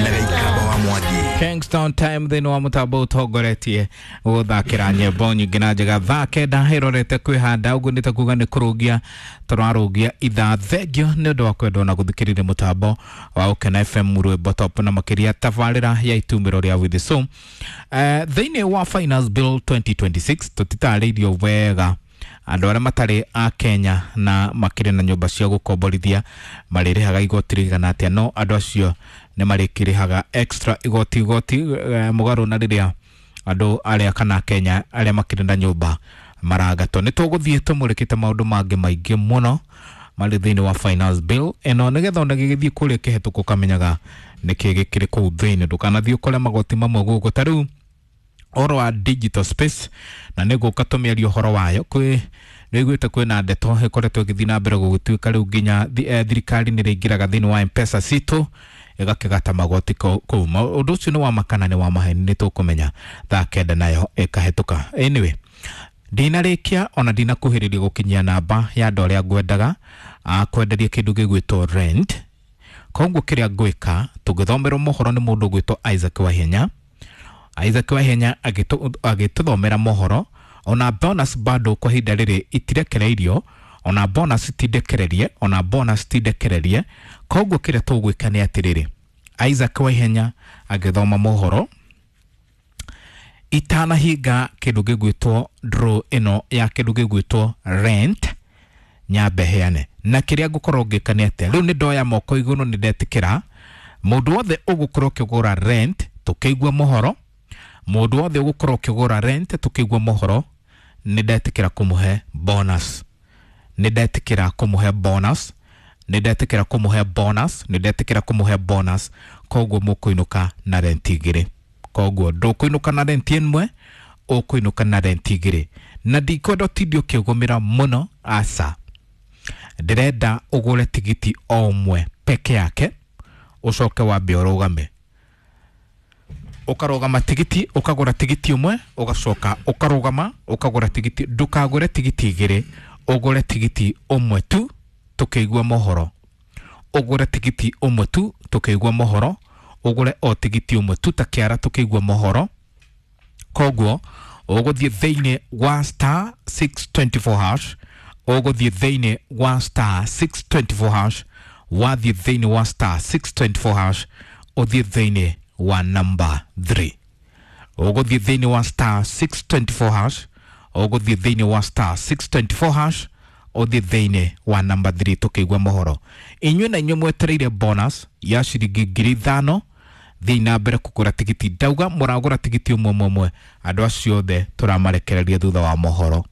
Na Gĩikamba wa Mwangi. Kingston Time thĩinĩ wa mũtambo ũtongoretie gũthakĩra nyĩmbo nyingĩ na njega. Thaa 9 ĩrorete kwĩhanda ũguo nĩ ta kuga nĩ kũrũgia tũrarũgia ithaa. Thengio nĩ ũndũ wa kwendwo na gũthikĩrĩria mũtambo wa Ũkena FM, rwĩmbo top na makĩria tabarĩra ya Itumĩro rĩa With So. Thĩinĩ wa Finance Bill 2026 tũtitarĩirio wega andũ arĩa matarĩ a Kenya na makĩrĩ na nyũmba cia gũkomborithia marĩrĩhaga igoti rĩigana atĩa, no andũ acio nĩ marĩkĩrĩhaga extra igoti mũgarũ na rĩrĩa andũ arĩa kana Kenya arĩa makĩrĩ na nyũmba maragatwo. Nĩ tũgũthiĩ tũmũrĩkĩte maũndũ mangĩ maingĩ mũno marĩ thĩinĩ wa Finance Bill ĩno, nĩgetha ona gĩgĩthiĩ kũrĩa kĩhetũkũ kamenyaga nĩkĩ gĩkĩrĩ kũu thĩinĩ, ndũkanathiĩ ũkore magoti mamwe gũkũ. Ta rĩu ũhoro wa digital space, na nĩ gũka tũmĩaria ũhoro wayo, kwĩ nĩiguĩte kwĩna ndeto ĩkoretwo ĩgĩthiĩ na mbere gũgĩtuĩka rĩu nginya thirikari nĩ ĩraingĩraga thĩinĩ wa M-Pesa citũ ĩgakĩgata magoti kũu. Ũndũ ũcio nĩ wa makana, nĩ wa maheni, nĩ tũkũmenya thaa 9 nayo ĩkahĩtũka. Anyway, ndinarĩkia ona ndinakuhĩrĩria gũkinyia namba ya andũ arĩa ngwendaga kwenderia kĩndũ gĩgwĩtwo rent. Koguo kĩrĩa ngwĩka, tũngĩthomerwo mohoro nĩ mũndũ ũgwĩtwo Isaac Wahenya. Isaac Wahenya agĩtũthomera mohoro, ona bonus bado kwa ihinda rĩrĩ itirekereirio, ona bonus tindekererie, ona bonus tindekererie. Koguo kĩrĩa tũgwĩka nĩ atĩrĩrĩ, Isaac Waihenya agĩthoma mohoro, itanahinga kĩndũ gĩgwĩtwo draw ĩno ya kĩndũ gĩgwĩtwo rent, nyambe heane. Na kĩrĩa ngũkorwo ngĩka nĩ atĩa, rĩu nĩ ndoya moko igũrũ, nĩ ndetĩkĩra mũndũ wothe ũgũkorwo ũkĩgũra rent tũkĩigua mohoro, mũndũ wothe ũgũkorwo ũkĩgũra rent tũkĩigua mohoro, nĩ ndetĩkĩra kũmũhe bonus, nĩ ndetĩkĩra kũmũhe bonus, nĩ ndetĩkĩra kũmũhe bonus, nĩ ndetĩkĩra kũmũhe bonus. Koguo mũkũinũka na rent igĩrĩ. Koguo ndũkũinũka na rent ĩmwe, ũkũinũka na rent igĩrĩ. Na ndikwenda ũtinde ũkĩgũmĩra mũno, aca. Ndĩrenda ũgũre tigiti o ũmwe peke yake, ũcoke wambe ũrũgame, ũkarũgama tigiti, ũkagũra tigiti ũmwe, ũgacoka ũkarũgama ũkagũra tigiti. Ndũkagũre tigiti igĩrĩ, ũgũre tigiti ũmwe tu tũkĩigua mohoro, ũgũre tigiti ũmwe tu tũkĩigua mohoro, ũgũre o tigiti ũmwe tu ta kĩara tũkĩigua mohoro. Koguo ũgũthiĩ thĩinĩ wa star 624 hash, ũgũthiĩ thĩinĩ wa star 624 hash, wathiĩ thĩinĩ wa star 624 hash, ũthiĩ thĩinĩ wa number 3, ũgũthiĩ thĩinĩ wa star 624 hash, ũgũthiĩ thĩinĩ wa star 624 hash, ũthiĩ thĩinĩ wa number 3 tũkĩigua mohoro. Inyuĩ na inyuĩ mwetereire bonus ya ciringi 5,000, thiĩ na mbere kũgũra tigiti. Ndauga mũragũra tigiti ũmwe ũmwe ũmwe, andũ acio othe tũramarekereria thutha wa mohoro.